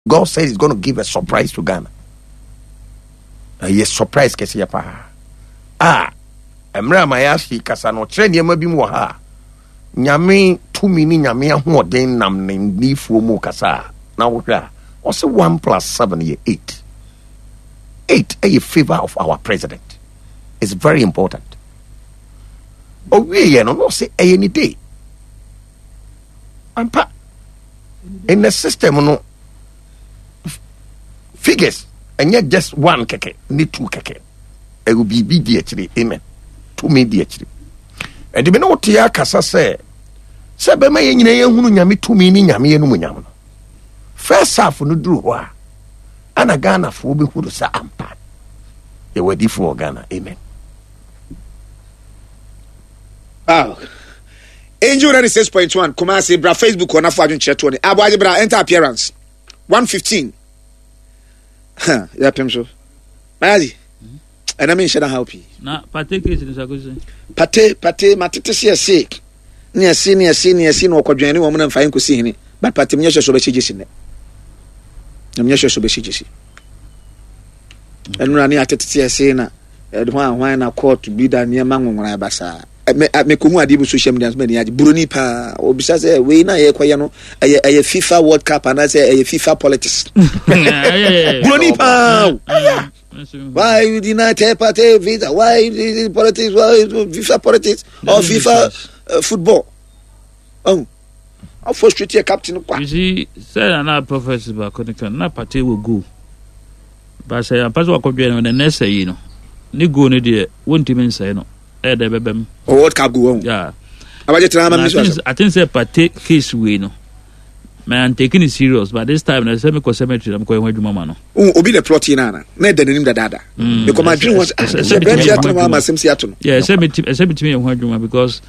God said he's going to give a surprise to Ghana. Ɛyɛ surprise kɛseɛ paa. A mmerɛ a mayɛ ase kasa no ɔkyerɛ nneɛma bi mu wɔ ha a nyame tumi ne nyame ahoɔden nam ne nnifoɔ mu kasa a na wohwɛ a ɔsɛ 1 plus 7 yɛ 8. 8 ɛyɛ favor of our president. It's very important. Ɔwieɛ no na ɔsɛ ɛyɛ ne day. Ampa in the system no figures ɛnyɛ just one kɛkɛ ne two kɛkɛ ɛwɔ biribi di akyire amen tumi di akyire ɛde me ne wote akasa sɛ sɛ bɛma yɛn nyinaa yɛhunu nyame tumi ne nyame yɛn mu nyam no first half no duru hɔ a ana ghanafoɔ bɛhunu sɛ ampa yɛwɔ adifoɔ wɔ ghana amen. Wow. Angel 96.1 Kumasi bra Facebook hɔ na fo adwenkyerɛ toɔ ne aboagye bra enter appearance 115 huh, yɛpem so mayazi ɛna menhyɛ da haw pii na pate case no sakosi pate pate matete se ɛse ne ɛse ne ɛse ne ɛse na ɔkɔdwɛn ne wɔn na mfa nkɔsi hene but pate menyɛ hyɛ so bɛhyɛ gyesi nnɛ na menyɛ hyɛ so bɛhyɛ gyesi ɛnora ne atete ɛse na ɛde hwan hwan na court bi da nneɛma nwonwona basaa Me a mekohu adeɛ bi social media nso m'ani agye buroni paa obisa sɛ wei na yɛkɔyɛ no ɛyɛ ɛyɛ FIFA World Cup anaasɛ ɛyɛ FIFA politics buroni paa o why you deny third party visa why you politics why FIFA politics or FIFA football ɔn afɔ street yɛ captain kwa. You see sɛ nana prophet baako ne kan na pate wɔ goal ba sɛ ampa sɛ wakɔdwɛ no na nɛ sɛ yi no ne goal no deɛ wontumi nsɛe no. ɛyɛ dɛ bɛbɛ mu. O World Cup go wɔn. Yeah. Abagye tena ama mi so asɛm. I think sɛ pate case wei no. Mɛ I'm taking it serious but this time na sɛ mekɔ cemetery na mekɔ yɛ ho adwuma ma no. Obi na plot yi na ana na ɛda n'anim dadaada. Mekɔ ma adwene ho sɛ sɛ brɛnti ato no ama asɛm si ato no. Yeah, ɛsɛ metumi ɛsɛ metumi yɛ ho adwuma because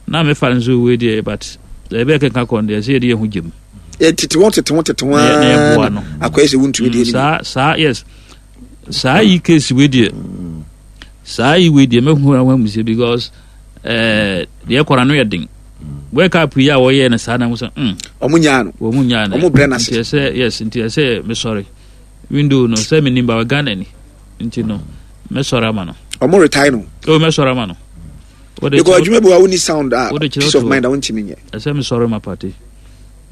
na mefa nso wei deɛ but ɛbɛyɛ kɛnka kɔn deɛ ɛsɛ yɛde yɛ ho gyem. Yɛ tete ho tete ho tete ho aa akɔyɛ sɛ wuntumi deɛ. Saa saa yes. Saa yi case wei deɛ saa yi wei deɛ mɛhu ahɔ amu sɛ because ɛɛ eh, deɛ kɔra no yɛ den world cup yi a wɔyɛ no saa na mo sɛ mm. ɔmo nyaa no ɔmo nyaa no ɔmo brɛ n'ase nti ɛsɛ yes nti ɛsɛ mesɔre window no sɛ menim ba Ghana ni nti no mɛsɔre ama no ɔmo retire no o mɛsɔre ama no because adwuma bi wa woni sound a peace of mind a wontumi nyɛ ɛsɛ mesɔre ma party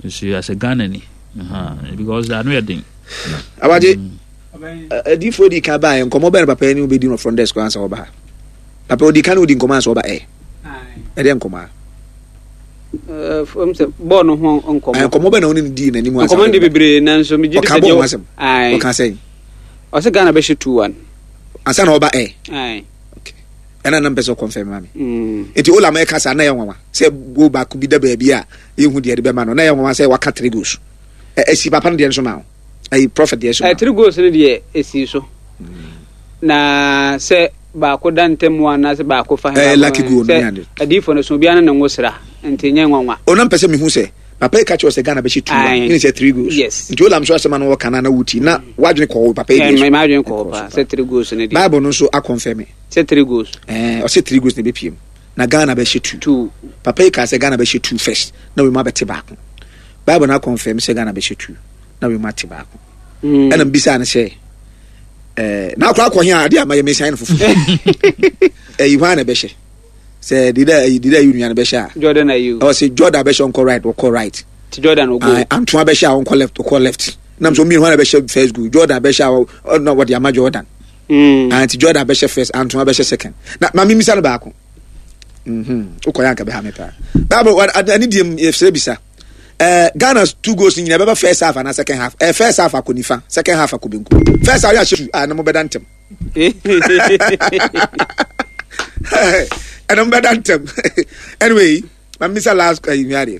nso asɛ Ghana ni because ano yɛ den abagye mm. Adiyifoɔ dii kan baeɛ, nkɔmmɔ bɛn na papa yi ne wo bɛdi no front desk ansa wɔba ha? Papa ɔdii kan ne wodi nkɔmmɔ ansa wɔba ɛ? Ɛdeɛ nkɔmmɔ a? Fam sɛ bɔɔl no ho nkɔmmɔ. Nkɔmmɔ bɛn na wo ne no dii n'anim ansa? Nkɔmmɔ no de bebree nanso megye di sɛ deɛ ɔka bɔɔl ho asɛm. Ɔka sɛn? Ɔsɛ Ghana bɛhyɛ 2-1. Ansa na ɔba ɛ? Okay. Ɛna na mpɛ sɛ ɔkɔmfɛm ma me. Nti Olam ɛka saa na ɛyɛ nwanwa sɛ goal baako bi da baabi a yɛhu deɛ ɛde bɛma no na ɛyɛ nwanwa sɛ waka three goals. Ɛsi papa no deɛ nso ma wo. ayi prophet deɛ so. Three goals no deɛ esi so. Na sɛ baako da ntam mu anaasɛ baako fa hɛ lucky goal no sɛ adiifo no so obiara ne ne ngo sra nti nyɛ nwanwa. Ɔnam pɛ sɛ mehu sɛ papa yi ka kyerɛ sɛ Ghana bɛhyɛ two one ne sɛ three goals. Yes. Nti olam so asɛm ano wɔka na na wuti na wadwene kɔɔ papa yi deɛ so. Ɛɛ madwene kɔɔ paa sɛ three goals no deɛ. Bible no nso akɔnfɛm me. Sɛ three goals. Ɛɛ ɔsɛ three goals na ebepiem na Ghana bɛhyɛ two. Two. Papa yi ka sɛ Ghana bɛhyɛ two first na wei mu abɛte baako. Bible no akɔnfɛm sɛ Ghana bɛhyɛ two. Na wei mu ate baako mm. ɛna mbisa no sɛ ɛɛ na akɔ akɔ hɛn a adeɛ ama yɛ mesan no fufu ɛyi hwan na ɛbɛhyɛ sɛ dida ɛyi dida yi nua no bɛhyɛ a Jordan ayi ɔ sɛ Jordan bɛhyɛ ɔnkɔ right ɔkɔ right ti Jordan ogo Antoine bɛhyɛ a ɔnkɔ left ɔkɔ left nam so mmienu hwan na bɛhyɛ first goal Jordan bɛhyɛ a ɔna wɔde ama Jordan mm. nti Jordan bɛhyɛ first Antoine bɛhyɛ second na maame misa no baako wokɔ yɛ anka bɛha me paa bible ɛne deɛ yɛsrɛ bisa Eh, Ghana two goals nyina ɛbɛba first half anaa second half. Eh, first half akɔ nifa, second half akɔ benkum. First half yɛ ahyɛ two, ah, na mo bɛda ntɛm. Ɛna mo bɛda ntɛm. Anyway, ma misa last eh, nua deɛ.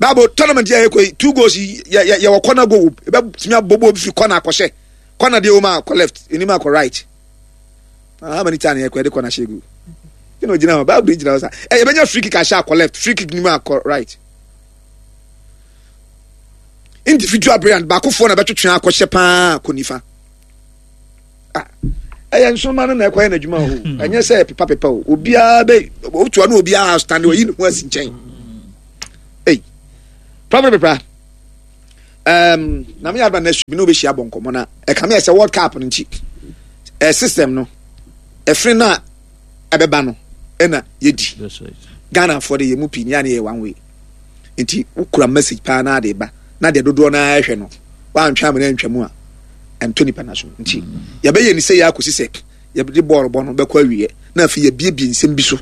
Bible tournament yɛ yɛkɔ yi, two goals yi yɛ yɛ yɛwɔ corner goal, ɛbɛtumi abɔbɔ obi fi corner akɔhyɛ. Corner deɛ wɔn akɔ left, enim akɔ right. Ah, how many times yɛ kɔ yɛde corner hyɛ gu? Ɛna ogyina hɔ, Bible gyina hɔ sa. Ɛ yɛbɛnya free kick ahyɛ akɔ left, free kick nim akɔ right. Individual brilliant baakofoɔ na bɛtwetwe akɔhyɛ paa kɔ nifa. Ah, ɛyɛ nsoma no na ɛkɔyɛ n'adwuma o. Hmm. Ɛnyɛ sɛ pepa pepa o. Obiara bɛ otua no obiara stand oyi ne ho asi nkyɛn. Ei, prophet pepa. Um, na me adba next week me no be share bɔ nkɔmɔ na ɛka me sɛ World Cup no nti eh, system no ɛfiri no a ɛbɛba no ɛna yɛdi Ghana foɔ de yɛ mu pii ne yɛ ne yɛ one way nti wokura message paa na ade ba na deɛ dodoɔ no ara hwɛ no woantwe amena antwa mu a ɛntɔ nipa no so nti yɛbɛyɛ ne sɛ yɛ akɔsi sɛ yɛde bɔɔl bɔ no bɛkɔ awieɛ na afei yɛbiebie nsɛm bi so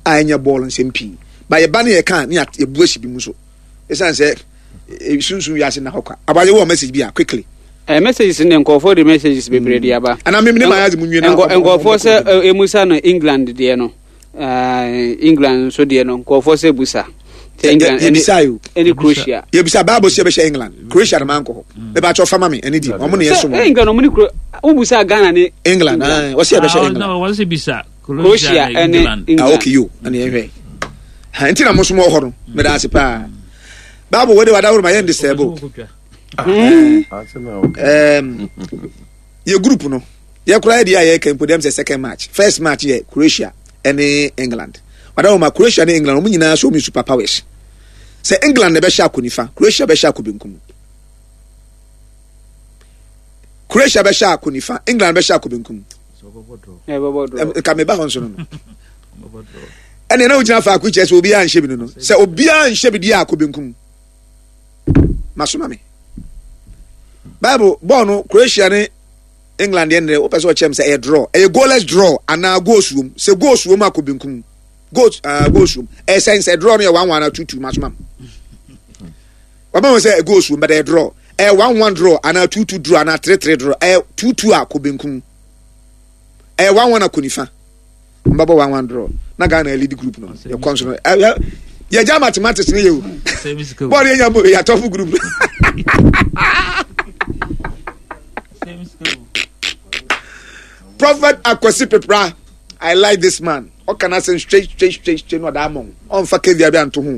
a ɛnyɛ bɔɔl nsɛm pii ba yɛba ne yɛka ne yɛbu ahyi bi mu so ɛsiane sɛ e, sunsun wiase na hɔ kwa abagye wɔ message bi a quickly Eh, messages ne nkurɔfoɔ de messages bebree de aba ana meme ne mayɛ adze mu nwie na nkurɔfoɔ sɛ ɛmusa no England deɛ no Eh, England nso deɛ no nkurɔfoɔ sɛ busa. Sɛ England yɛbisa yo. Ɛne Croatia. Yɛbisa Bible sɛ yɛbɛhyɛ England. Croatia no mankɔ hɔ. Meba kyɛ ɔfa ma me ɛne di. Ɔmo ne yɛ som. Sɛ England ɔmo ne Croatia. Wobusa Ghana ne England. Ah, wɔsɛ yɛbɛhyɛ ah, England. No, wɔsɛ bisa Croatia ɛne England. Ah, okay yo. Ɛne yɛhwɛ. Ha nti na mo som wɔ hɔ no. Meda ase paa. Bible wo de wadaworo ma yɛn disturb. Um, yɛ group no. Yɛ koraa deɛ a yɛka mpo dɛm sɛ second match. First match yɛ Croatia ɛne England. Wada wɔn ma Croatia ne England wɔn nyinaa so wɔn super powers. Sɛ England na ɛbɛhyɛ akɔ nifa, Croatia bɛhyɛ akɔ benkum. Croatia bɛhyɛ akɔ nifa, England bɛhyɛ akɔ benkum. Nka meba hɔ nso no no. Ɛnna na wogyina faako kyerɛ sɛ obiara nhyɛ bi no no. Sɛ obiara nhyɛ bi deɛ akɔ benkum. Masoma me. Bible bɔɔl no Croatia ne England deɛ nnɛ wopɛ sɛ ɔkyerɛ m sɛ ɛyɛ draw ɛyɛ goalless draw anaa goals wom sɛ goals wom akɔ benkum goals uh, goals wom ɛyɛ sɛn sɛ draw no yɛ 1 1 anaa 2 2 masoma m wama wɔn sɛ goals wom but ɛyɛ draw ɛyɛ 1 1 draw anaa 2 2 draw anaa 3 3 draw ɛyɛ 2 2 akɔ benkum ɛyɛ 1 1 akɔ nifa mbɛbɔ 1 1 draw na Ghana lead group no yɛ kɔ nso no yɛgya mathematics no yɛ o bɔɔl yɛ nya mo yɛ atɔfo group no. Prophet Akwasi Pepra, I like this man. Ɔka n'asɛm straight straight straight straight na ɔda ama wo. Ɔnfa kevia bi anto ho.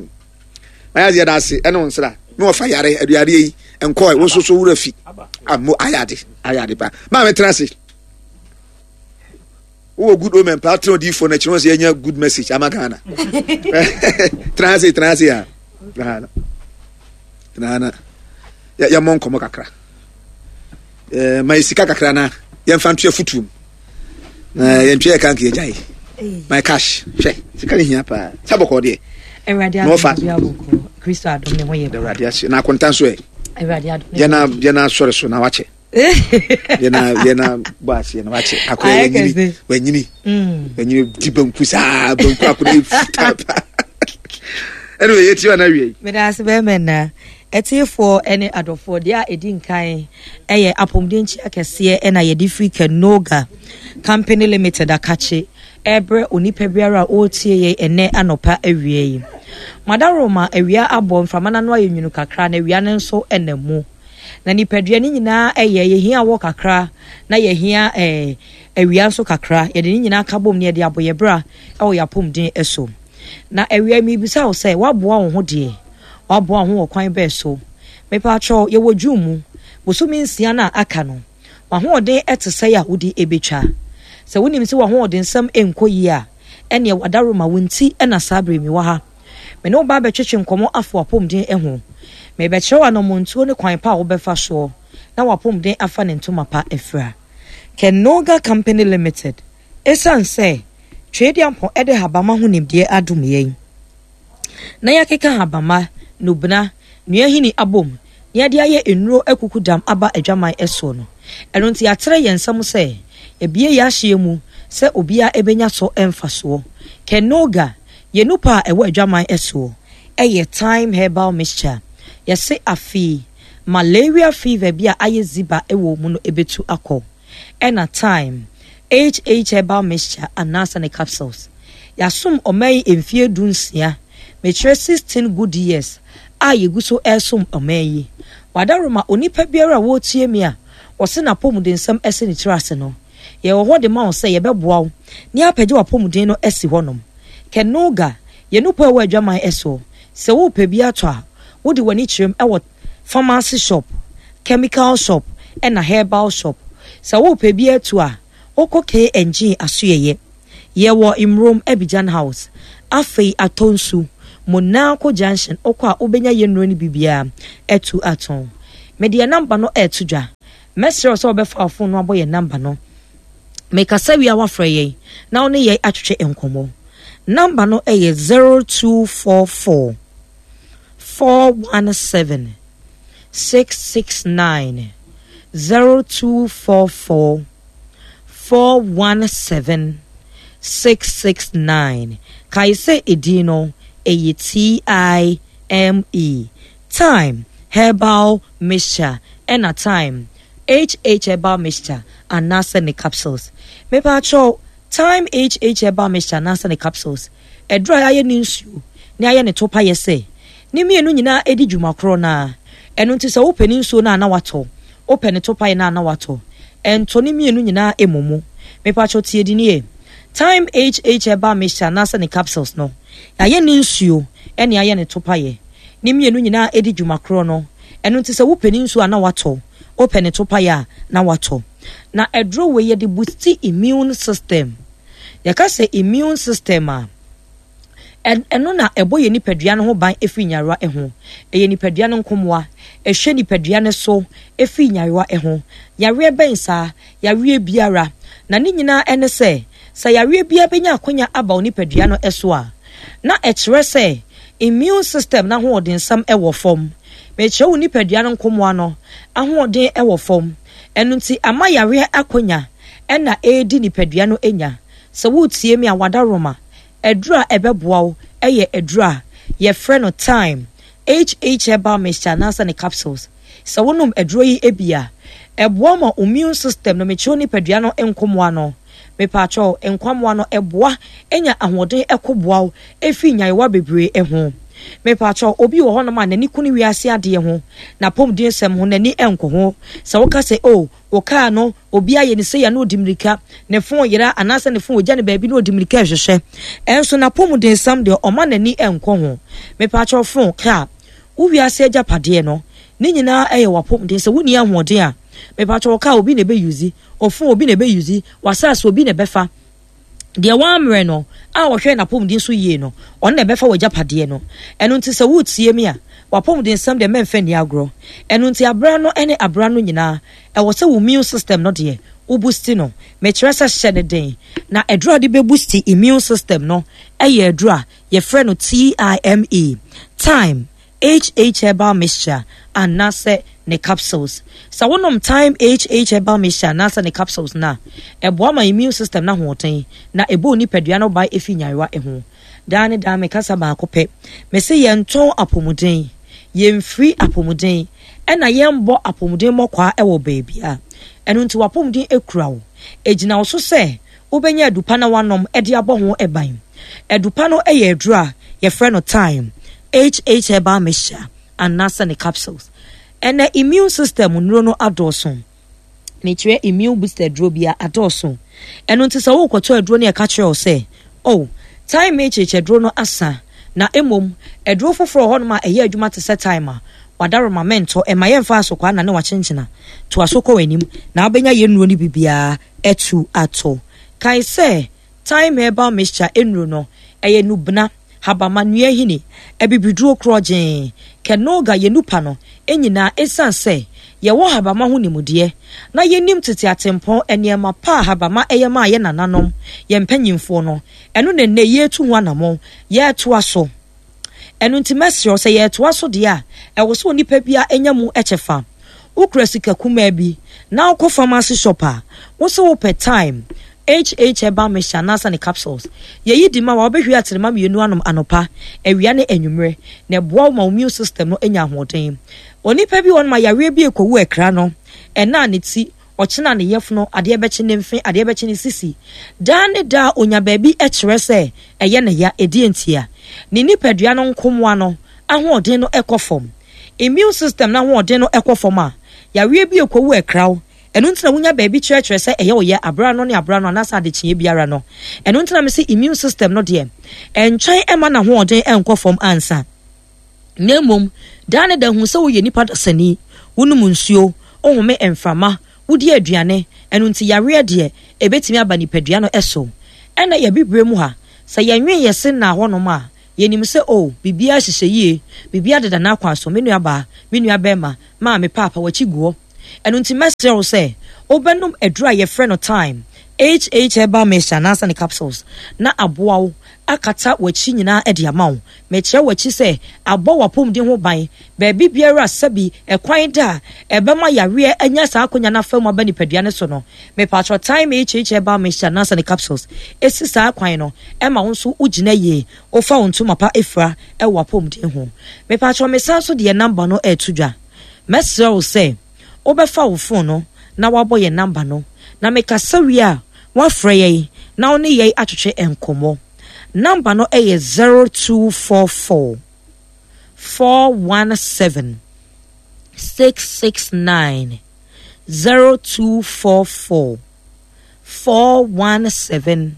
Na yɛ yɛda ase ɛne wo nsra. Na ɔfa yare aduadeɛ yi nkɔɛ wo nso so wura fi. Amo ayɛ ade ayɛ ade pa. Maame tena ase. Wowɔ good omen paa tena odiifoɔ no akyi na wɔn sɛ yɛnya good message ama Ghana. Tena ase tena ase ya. Tena ha na. Tena ha na. Yɛmmɔ nkɔmmɔ kakra. Eh, ma yɛ sika kakra na yɛmfa nto afutuo mu na yɛntwe yɛ kanka yɛgyae my cash hwɛ sika no hia paa sɛ bɔkɔɔ deɛ na ɔfa awurade ase na akonta nso ɛ yɛna yɛna asɔre so na wakyɛ yɛna yɛna bɔ aseɛ na wakyɛ akora wanyini wanyini wanyini di banku saa banku akora yɛ fitaa paa ɛne yɛtie ɔna awie meda ase bɛrima na Atiefoɔ ne adɔfoɔ, deɛ a ɛdi nkan yɛ apɔmuden nkyia kɛseɛ na yɛde firi Kanoga Company Limited akakye ɛrebrɛ onipa biara a ɔretie yɛn ɛnɛ anɔpa awia yi. Madaroma awia abɔ mframa no ano ayɛ nwunu kakra na awia no nso nam mu. Na nipadua no nyinaa ɛyɛ yɛhia awɔ kakra na yɛhia ɛɛ awia nso kakra. Yɛde ne nyinaa ka bom na yɛde abɔ yɛ bra ɛwɔ yɛn apɔmuden so. Na awia yi mebisa wo sɛ woaboa wo ho deɛ? Woaboa wo ho wɔ kwan bɛn so? Mepakyɛw, yɛwɔ June mu, bosome nsia no a aka no, w'ahoɔden te sɛn a wode betwa? Sɛ wunim sɛ w'ahoɔdensɛm nkɔ yie a, ɛnneɛ w'adaworoma wo nti na saa bere yi mewɔ ha. Me ne wo ba abɛtwetwe nkɔmmɔ afa w'apɔmuden ho. Merebɛkyerɛ wo anammɔntuo ne kwan pa a wobɛfa soɔ na w'apɔmuden afa ne ntoma pa afira. Kenoga Company Limited, Esiane sɛ Tweaduampɔn de habamma ho nimdeɛ adom yɛn, na yɛakeka habamma, nnubena, nnua nhini abom na yɛde ayɛ nnuro akukudam aba adwaman soɔ no. Ɛno nti yɛatrɛ yɛn nsa mu sɛ yɛabue yɛn ahyeɛ mu sɛ obiara bɛnya so mfasoɔ. Kenoga, yɛn nupa a ɛwɔ adwaman soɔ yɛ Thyme Herbal Mixture. Yɛse afei malaria fever bi a ayɛ ziba wɔ mu no bɛtu akɔ. Ɛna Thyme HH Herbal Mixture anaasɛ ne capsules. Yɛasom ɔman yi mfeɛ du nsia, mekyerɛ 16 good years a yɛgu so resom ɔman yi. W'adaworoma onipa biara a ɔretie me a ɔse n'apɔmudensɛm asi ne tiri ase no, yɛwɔ hɔ de ma wo sɛ yɛbɛboa wo na yɛapagya w'apɔmuden no asi hɔnom. Kenoga, yɛn nupɔ a ɛwɔ adwaman soɔ, sɛ worepɛ bi atɔ a, wode w'ani kyerɛm wɔ pharmacy shop, chemical shop ɛna herbal shop. Sɛ worepɛ bi atu a, wokɔ K&G asoɛeɛ. Yɛwɔ Mmrom Abidjan House, afei Atonsu, Monaco Junction wokɔ a wobɛnya yɛn nnuro no bi biara atu atɔn. Mede yɛn namba no ɛreto dwa. Mɛsrɛ wo sɛ wobɛfa wo fon no abɔ yɛn namba no. Mekasa wie a woafrɛ yɛn na wo ne yɛn atwetwe nkɔmmɔ. Namba no yɛ 0244 417 669 0244 417 669. Kae sɛ edin no ɛyɛ TIME. Thyme Herbal Mixture ɛna Thyme HH Herbal Mixture anaasɛ ne capsules. Mepaakyɛw, Thyme HH Herbal Mixture anaasɛ ne capsules, aduru a yɛayɛ ne nsuo na yɛayɛ ne topa yɛ sɛ ne mmienu nyinaa ɛdi dwuma korɔ no ara. Ɛno nti sɛ wopɛ ne nsuo no a na watɔ, wopɛ ne topaeɛ no a na watɔ. Ɛntɔ ne mmienu nyinaa mmɔ mu. Mepaakyɛw tie di nie. Thyme HH Herbal Mixture anaasɛ ne capsules no, yɛayɛ ne nsuo ɛne yɛayɛ ne topaeɛ. Ne mmienu nyinaa di dwuma korɔ no. Ɛno nti sɛ wopɛ ne nsuo a na watɔ, wopɛ ne topaeɛ a na watɔ. Na aduro wei yɛde boosti immune system. Yɛka sɛ immune system a, ɛno na ɛbɔ yɛn nipadua no ho ban firi nyarewa ho. Ɛyɛ nipadua no nkomoa. Ɛhwɛ nipadua no so firi nyarewa ho. Yareɛ bɛn saa? Yareɛ biara. Na ne nyinaa ɛne sɛ, sɛ yareɛ biara bɛnya akwanya aba wo nipadua no so a, na ɛkyerɛ sɛ immune system no ahoɔdensɛm wɔ fam. Mekyerɛ wo nipadua no nkomoa no ahoɔden wɔ fam. Ɛno nti ama yareɛ akwanya na ɛredi nipadua no nya. Sɛ woretie me a, w'adaworoma, aduru a ɛbɛboa wo yɛ aduru a yɛfrɛ no Thyme, HH Herbal Mixture anaasɛ ne capsules. Sɛ wonom aduro yi bi a, ɛboa ma immune system no, mekyerɛ wo nipadua no nkomoa no, mepaakyɛw, nkwammoa no, ɛboa nya ahoɔden ɛko boa wo ɛfiri nyarewa bebree ho. Mepaakyɛw, obi wɔ hɔnom a n'ani ku ne wiase adeɛ ho, n'apɔmuden nsɛm ho, n'ani nkɔ ho. Sɛ woka sɛ, oh, wo kaa no, obi ayɛ ne sei a na ɔdi mmirika, ne fon yera anaasɛ ne fon ɔgya ne baabi na ɔdi mmirika ɛhwehwɛ. Ɛnso n'apɔmuden nsɛm deɛ ɔma n'ani nkɔ ho. Mepaakyɛw, fon, kaa, Wo wiase agyapadeɛ no, ne nyinaa yɛ w'apɔmuden. Sɛ wonni ahoɔden a, mepakyɛ wo kaa obi na ɛbɛ use, wo phone obi na ɛbɛ use, w'asaase obi na ɛbɛfa. Deɛ wammrɛ no a ɔhwɛ n'apɔmuden so yie no, ɔno na ɛbɛfa w'agyapadeɛ no. Ɛno nti sɛ woretie me a, w'apɔmuden nsɛm deɛ mɛmfa nni agorɔ. Ɛno nti abra no ne abra no nyinaa, ɛwɔ sɛ wo immune system no deɛ, wo boosti no. Mekyerɛ sɛ hyɛ no den. Na aduro a wode bɛ boosti immune system no yɛ aduro a Yɛfrɛ no TIME, Thyme HH Herbal Mixture, anaasɛ ne capsules. Sɛ wonom Thyme HH Herbal Mixture anaasɛ ne capsules no a, ɛboa ma immune system no ahoɔden na ɛbɔ wo nipadua no ban fi nyarewa ho. Daa ne daa mekasa baako pɛ, mese yɛntɔn apɔmuden, yɛmfiri apɔmuden, ɛna yɛmbɔ apɔmuden mmɔkwaa wɔ baabiara. Ɛno nti w'apɔmuden kura wo. Ɛgyina wo so sɛ Wobɛnya adupa na woanom de abɔ ho ban. Adupa no yɛ aduro a yɛfrɛ no thyme, HH herbal mixture anaasɛ ne capsules. Ɛnɛ immune system nnuro no adɔɔso. Mekyerɛ immune booster aduro bia adɔɔso. Ɛno nti sɛ worekɔtɔ aduro no yɛka kyerɛ wo sɛ, oh, thyme HH aduro no asa, na mmom aduro foforɔ wɔ hɔnom a ɛyɛ adwuma te sɛ thyme a, wadaroma mɛntɔ, ɛma yɛmfa asokwaa nane wakyenkyena. Toa so kɔ w'anim na wobɛnya yɛn nnuro no bi biara atu ato. Kae sɛ Thyme Herbal Mixture nnuru no, ɛyɛ nnubena, habamma, nnuahini, abibiduro korɔgyee, Canoga, yɛn nnupa no nyinaa esiane sɛ yɛwɔ habamma ho nimdeɛ na yɛnim tete atempɔn nneɛma pa a habamma yɛ maa yɛn nananom, yɛn mpanyimfoɔ no, ɛno na nnɛ yɛretu ho anammɔn, yɛretoa so. Ɛno nti mɛsrɛ wo sɛ yɛretoa so deɛ a, ɛwɔ sɛ onipa biara nya mu kyɛfa. Wokura sika kumaa bi na wokɔ pharmacy shop a, wo se wopɛ Thyme, HH herbal mixture anaasɛ ne capsules. Yɛyi di ma wo a, wobɛhwie aterema mmienu anom anɔpa, awia ne anwummere, na ɛboa wo ma wo immune system no nya ahoɔden. Onipa bi wɔ hɔnom a yareɛ bi rekɔwu akra no, ɛna a ne ti, Ɔkyena ne yafunu, adeɛ bɛkye ne mfe, adeɛ bɛkye ne sisi. Daa ne daa ɔnya baabi kyerɛ sɛ ɛyɛ ne ya. Ɛdeɛn ntia? Ne nipadua no nkomoa no ahoɔden no kɔ fam. Immune system no ahoɔden no kɔ fam a, yareɛ bi rekɔwu ɛkra wo. Ɛno nti na wonya baabi kyerɛkyerɛ sɛ ɛyɛ wo ya aberɛ ano ne aberɛ ano anaasɛ adekyeeɛ biara no. Ɛno nti na mese immune system no deɛ, ɛntwɛn mma n'ahoɔden nkɔ fam ansa. Na mmom, daa ne da hu sɛ woyɛ nipa dasani, wonom nsuo, wohome mframa, wodi aduane, ɛno nti yareɛ deɛ, ɛbɛtumi aba nipadua no so. Ɛna yɛn abibire mu ha, sɛ yɛnwen yɛn se nnaa hɔnom a, Yɛnim sɛ, oh, biribiara hyehyɛ yie, biribiara deda n'akwan so, me nuabaa, me nuabarima, maame, paapa, w'akyi gu hɔ. Ɛno nti mɛsrɛ wo sɛ wobɛnom aduru a yɛfrɛ no Thyme, HH Herbal Mixture anaasɛ ne capsules na aboa wo akata w'akyi nyinaa de ama wo. Mekyerɛ w'akyi sɛ abɔ w'apɔmuden ho ban baabi biara a sɛbi ɛkwan da a ɛbɛma yareɛ anya saa akonya no afa mu aba nipadua no so no. Mepakyɛw Thyme HH Herbal Mixture anaasɛ ne capsules si saa kwan no ma wo nso wogyina yie, wofa wo ntoma pa fira wɔ w'apɔmuden ho. Mepakyɛw mesan nso de yɛn number no reto dwa. Mɛsrɛ wo sɛ wobɛfa wo fon no na woabɔ yɛn namba no, na mekasa wie a, woafrɛ yɛn na wo ne yɛn atwetwe nkɔmmɔ. Namba no yɛ 0244 417 669, 0244 417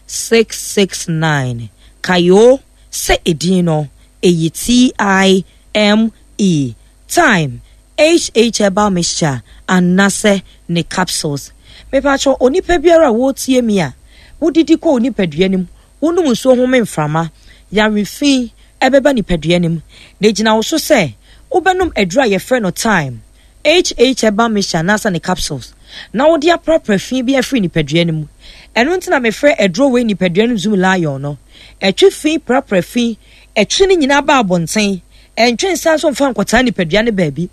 669. Kae o sɛ edin no, ɛyɛ TI M E, Thyme, HH Herbal Mixture anasɛ ne capsules. Mepakyɛw, onipa biara a woretie me a, wodidi kɔ wo nipadua no mu, wonom nsuo home mframa, yare fi ɛbɛba nipadua no mu. Na egyina wo so sɛ wobɛnom aduru a yɛfrɛ no Thyme, HH Herbal Mixture anaasɛ ne capsules na wode aprapra fi bi afiri nipadua no mu. Ɛno nti na mefrɛ aduro wei nipadua no Zoom Lion no. Ɛtwe fi prapra fi Ɛtwe ne nyinaa ba abɔnten. Ɛntwe nsa nso mfa nkɔtaa nipadua no baabi.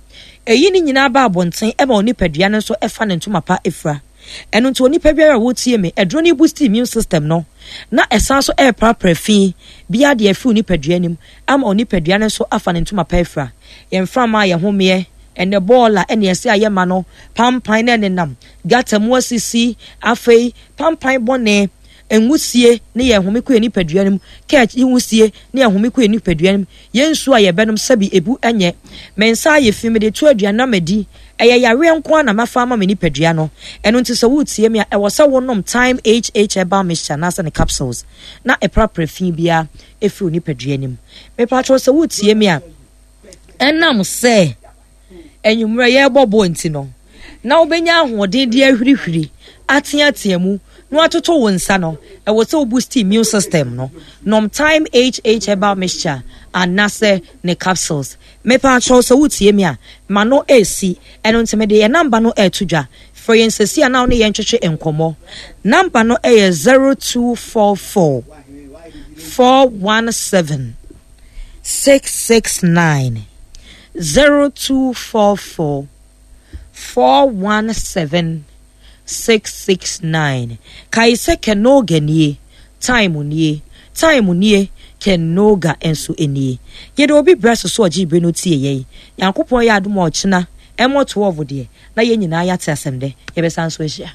Ɛyi ne nyinaa ba abɔnten ma onipadua no nso fa ne ntoma pa fira. Ɛno nti onipa biara a wotie me, aduro no boost immune system no na ɛsan so ɛreprapra fi biara de afiri onipadua no mu ama onipadua no nso afa ne ntoma pa afira. Yɛn mframa a yɛhomeɛ, ɛnɛ bɔɔla ɛne ɛsɛ a yɛma no, pampan na ɛnenam gata mu asisi, afei pampan bɔne, Nwusie ne yɛn home kɔ yɛn nipadua no mu, kɛt nwusie ne yɛn home kɔ yɛn nipadua no mu, yɛn nsuo a yɛbɛnom sɛbi ebu nyɛ. Me nsa ayɛ fi, mede to aduane na madi, ɛyɛ yareɛ nko ara na mafa ama me nipadua no. Ɛno nti sɛ woretie me a, ɛwɔ sɛ wonom Thyme HH Herbal Mixture anaasɛ ne capsules na ɛprapra fi biara ɛfiri wo nipadua no mu. Mepakyɛw sɛ woretie me a, ɛnam sɛ anwummerɛ yɛrebɔ bɔɔl nti no, na wobɛnya ahoɔden de ahwirihwiri, ateatea mu, na watoto wo nsa no, ɛwɔ sɛ wo boost immune system no. Nom Thyme HH Herbal Mixture anasɛ ne capsules. Mepa kyɛw sɛ wotie me a, ma no ɛresi. Ɛno nti mede yɛn namba no ɛreto dwa. Frɛ yɛn sɛsi a na wo ne yɛn twetwe nkɔmmɔ. Namba no ɛyɛ 0244 417 669 0244 417 669. Kae sɛ Kenoga nie, time nie, time nie, Kenoga nso nie. Yɛde obi brɛ so so ɔgye bere no tie yɛn. Nyankopɔn yɛ adom a ɔkyena ɛmmɔ 12 deɛ na yɛn nyinaa yɛate asɛm dɛ. Yɛbɛsan so ahyia.